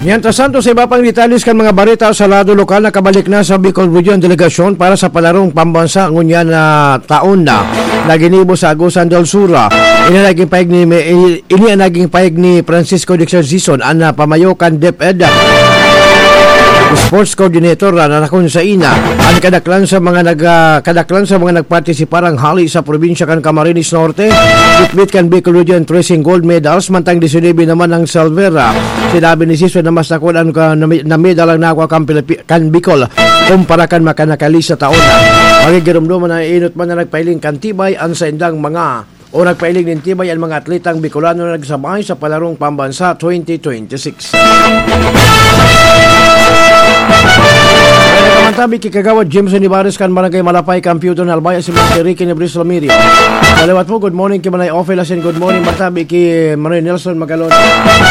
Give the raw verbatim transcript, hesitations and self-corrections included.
Mientras tanto, sa iba pang detalles kan mga bareta sa lado lokal, nakabalik na sa Bicol Region delegasyon para sa palarong pambansa ngunyan na taon na, na ginibo sa Agusan del Sur. Ini naging pahayag ni, ini ang naging pahayag ni Francisco Dexter Zison, ang, ah, pamayo kan DepEd Sports Coordinator, ah, na nakon sa ina. Ang kadaklan sa mga nag, ah, kadaklan sa mga nagpartisipar ang hali sa probinsya kan Camarines Norte, bitbit kan Bicol Region, trese gold medals, mantang disinuybe naman ang silver. Ah, sinabi ni Zison na mas dakul an ka-, na, na medal ang nakuha kan Pilipi-, kan Bicol kumpara kan makanakali sa taon. Magigiromdoman na inot man na nagpailing kan tibay an saindang mga o nagpailing nin tibay an mga atletang Bicolano na nagsabay sa Palarong Pambansa twenty twenty-six. Tabi ki Kagawad Jameson Ibares kan Barangay Malapay, Computer na Albay, si Mister Ricky Nebres Lamirio. Salawat po, good morning ki Manay Ofel, asin good morning, matabi ki Manoy Nelson Magalon.